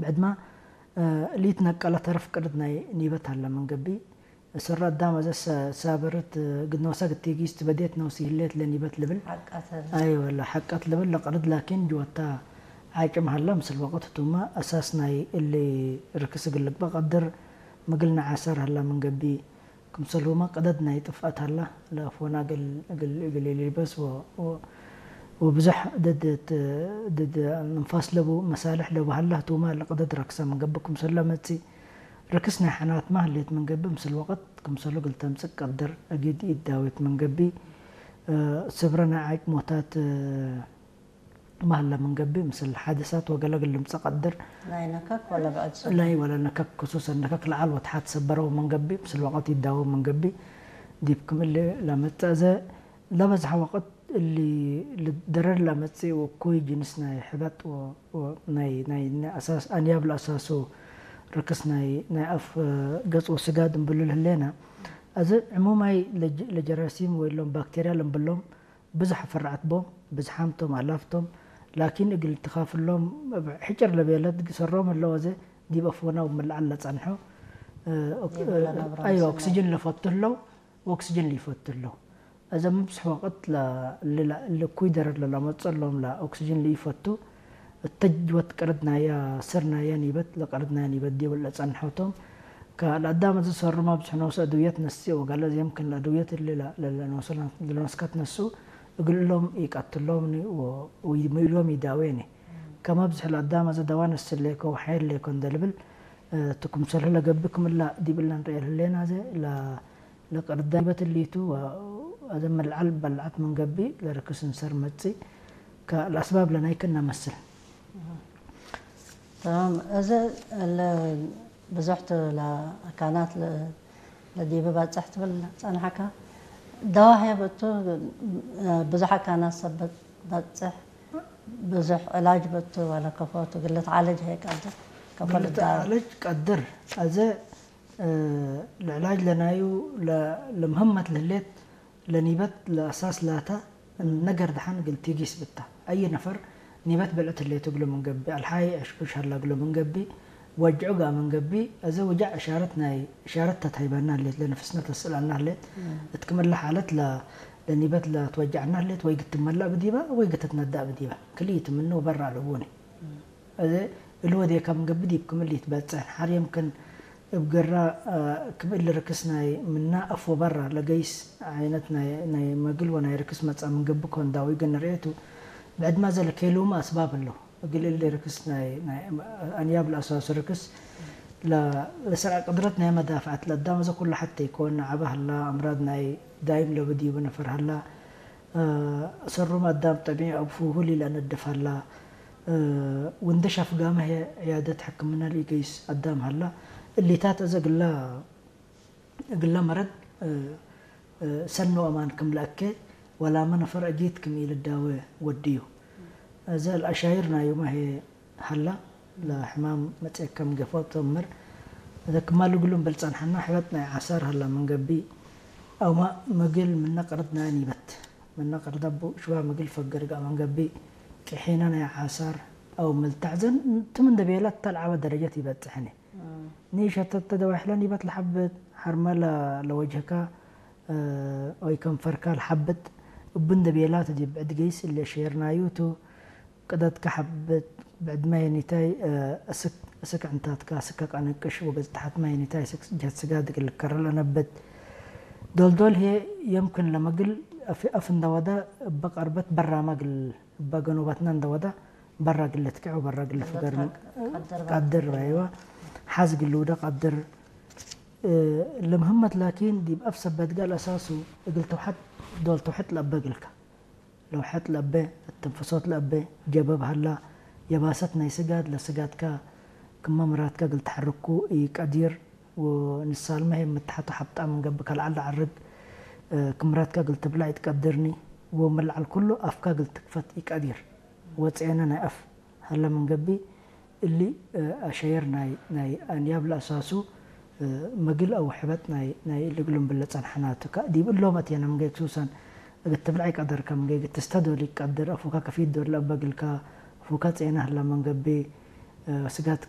ዕድማ ሊት ነቀለ ተረፍ ቅርድ ናይ ኒበት ኣለ መንገቢ ሰራ ኣዳም ኣዘ ሳበርት ግድነውሳ ግቴጊስ ትበዴት ነውሲ ህሌት ለኒበት ልብል ሓቃተ ኣይወላ ሓቀት ልብል ለቅርድ ላኪን ጅወታ ዓጭም ሃላ ምስል ወቅት ቱማ ኣሳስ ናይ እሊ ርክስ ግልግባ ቀድር ምግል ንዓሰር ሃላ መንገቢ ክምሰልሁማ ቅደድ ናይ ጥፍኣት ሃላ ለፎና ግል ግል ግል ሊበስ ወ- ወ- ወብዙሕ ድድ ድድ ንፋስ ለቡ መሳልሕ ለቡ ሃላ ህቱማ ለቅደድ ረክሰ መንገቢ ክምሰሎ መጺ ርክስ ናይ ሓናት ማህሌት መንገቢ ምስል ወቅት ክምሰሎ ግልተምጽእ ቀድር ኣጊድ ይዳዊት መንገቢ ስብረ ናይ ዓጭ ሞታት ማህለ መንገቢ ምስል ሓደሳት ወገለግል ልምጸ ቀድር ናይ ነካክ ወላ ብዕድ ላይ ወላ ነካክ ክሱሰ ነካክ ለዓል ወትሓት ሰበረው መንገቢ ምስል ወቀት ይዳወ መንገቢ ዲብ ክምል ለመጸ ዘ ለበዝሐ ወቀት እሊ ልደረር ለመጽእ ወኩይ ጅንስ ናይ ሕበጥ ወ- ወ- ናይ ናይ ናይ ኣሳስ ኣንያብ ለኣሳሱ ርክስ ናይ ናይ ኣፍ ገጽ ወስጋድ እንብሉ ልህሌና እዚ ዕሙማይ ለጀ- ለጀራሲም ወይ ሎም ባክቴርያ ለንብሎም ብዙሕ ፍርዓት ቦም ብዝሓምቶም ኣላፍቶም ላኪን እግል ትኻፍሎም ሕጭር ለቤለት ግሰሮም ኣለዎ ዘ ዲብ ኣፍወና ውምልዓል ለጸንሖ ይብለ ነብሮ ኣይ ምስል ኦክሲጅን ለፈቱ ኣለዉ ኦክሲጅን ሊፈቱ ኣለዉ እዘ ምብዝሕ ወቅት ልኩይ ደረድ ለላመጸሎም ኦክሲጅን ሊፈቱ እተጅወት ቅርድ ናያ ስር ናያ ኒበት ለቅርድ ናያ ኒበት ዲብል ለጸንሖቶም ከለአዳም እዚ ሰሩማ ብዙሕ ነውሰ እድውየት ነሲ ወጋለ የምክን ለእድውየት እሊ ለነውስካት ነሱ እግልሎም ይቀትሎም ምኢሎም ይዳዌኒ ከመ ብዙሕ ለአዳም እዚ ደዋ ነስሌኮ ወሓየሌኮ እንደልብል ትኩምሰልህ ለገብእ ክምላ ዲብለ ንርኤ ህሌና ዘ ለቅርዳ ኒበት እሊቱ ኣዘ መልዓል በልዓት መንገቢ ለርክስ እንሰር መጽእ ከለአስባብ ለናይክን ነመስል تمام እዚ ለ ብዙሕ ትብል ኣካናት ለዲብ ባጽሕ ትብል ጸንሓካ ደዋህ የብእቱ ብዙሕ ኣካናት ሰብ ባጽሕ ብዙሕ ዕላጅ በቱ ዋላ ከፎ ትግል ትዓለጅ ሀይ ቀድር ከፎ ልዳ ለጅ ቀድር ኣዘ ለዕላጅ ለናዩ ለምህመት ለህሌት ለኒበት ለአሳስ ላታ ነገር ደሓን እግል ቲጊስ ብታ። አይ ነፈር ኒበት ብልዕት ህሌቱ እግሉ ምን ገብእ፣ አልሓይ ዕሽዑሽ ሀላ እግሉ ምን ገብእ፣ ወጅዑ ገአ ምን ገብእ፣ እዚ ውጃዕ እሻረት ናይ እሻረት ተትሀይበና ህሌት፣ ለነፍስነ ተስእለና ህሌት፣ እት ክም እለ ሓለት ለኒበት ለትወጃዕና ህሌት፣ ወይ ግትመላእ ብዲባ ወይ ግትትነዳእ ብዲባ። ክልኢት ምኑ በራ ልቡኒ። እዚ እሊ ወዴካ ምን ገብእ ዲብ ክም እሊ ይትበጽሕ። ሓር የምክን እብ ግራ ክም እሊ ርክስ ናይ ምና አፍ ወበራ ለገይስ ዓይነት ናይ መግል ወናይ ርክስ መጽአ ምን ገብእ ኮን ዳዊ ግን ርእየቱ ብዕድማ ዘለኬሉም አስባብ እሉ። እግል እሊ ርክስ ናይ አንያብ ለአሳሱ ርክስ ለስርዐ ቅድረት ናይ መዳፍዐት ለአዳም እዚ ኩሉ ሐቴ ይኮን ዐበ ሀላ አምራድ ናይ ዳይም ለብድ ይቡ ነፈር ሀላ ሰሩም አዳም ጠቢዕ አብ ፉሁ ሊለነድፍ ሀላ። ወንደሽ አፍጋመ ህየ ዕያደት ሕክምና ሊገይስ አዳም ሀላ። እሊታት እዘ ግላ እግለ መረድ ሰኖ አማን ክም ለአኬ ወላመ ነፈር አጊት ክም ኢልዳወ ወድዩ። እዘ ለአሻይር ናዩመ ህየ ሀላ ለሕማም መጽአከ ምገፎ ተምር እዘ ክማል እግሉ እምብል ጸንሐና ሕበጥ ናይ ዓሳር ሀላ ምን ገብእ አውማ ምግል ምነ ቅርድ ናይ ኒበት ምነ ቅርድ አቡ ሽዋ ምግል ፈገር ገአ ምን ገብእ ቅሒነ ናይ ዓሳር አው ምልታዕ ዘን ትም እንደ ቤላት ተልዓበ ደረጀት ይበጽሕኒ ኒሸተተ ደዋሕለ ኒበት ለሐብት ሐርመ ለወጅህካ ወይ ከንፈርካ ለሐብት እቡ እንደ ቤላት ዲብ ዕድ ገይስ እለ ሼርናዩቱ ቅደትከ ሐብት ብዕድ ማይ ኒታይ እስክ ዕንታትካ እስከ ቀንቅሽ ወገጽ ተሐት ማይ ኒታይ እስክ ጀት ስጋድ እግል ልከረ ለነብት ዶልዶል ህየ የምክን ለመግል አፍ እንደወደ እበ ቀርበት በራማ እግል እበ ገኖበትና እንደወደ በራ እግል ልትክዕ ወበራ እግል ልፍገር ቀድር አይዋ ሐዝ እግል ልውደ ቀድር ለምህመት ላኪን ዲብ አፍ ሰበት ጋል አሳሱ እግል ተውሐት ዶል ተውሐት ለአበ እግልከ ለውሐት ለአበ፣ እትንፍሶት ለአበ፣ ጀበብ ሀላ፣ የባሰት ናይ ስጋድ ለስጋድካ ክመ ምራትካ እግል ተሐርኩ ኢቀዲር፣ ወንሳልመ ህይ ምትሐቱ ሐብጣ ምን ገብእ ከልዓል ለዐርግ ክም ምራትካ እግል ትብላዕ ኢትቀድርኒ፣ ወምን ለዐል ኩሉ አፍካ እግል ትክፈት ኢቀዲር፣ ወጽኤነ ናይ አፍ ሀለ ምን ገብእ፣ እሊ አሸየር ናይ ናይ አንያብ ለአሳሱ መግል አው ሕበጥ ናይ ናይ እሊ እግሉም ብለ ጸንሐናቱ። ከ ዲብ እሎም አቴነ ምንገይ ክሱሰን እግል ትብልዕ ኢቀደርከ ምንገይ እግል ትስተዶል ኢቀድር አፉካ ከፊት ዶል ለአበግልካ አፉካ ጼነ ህላ መንገቤ ስጋት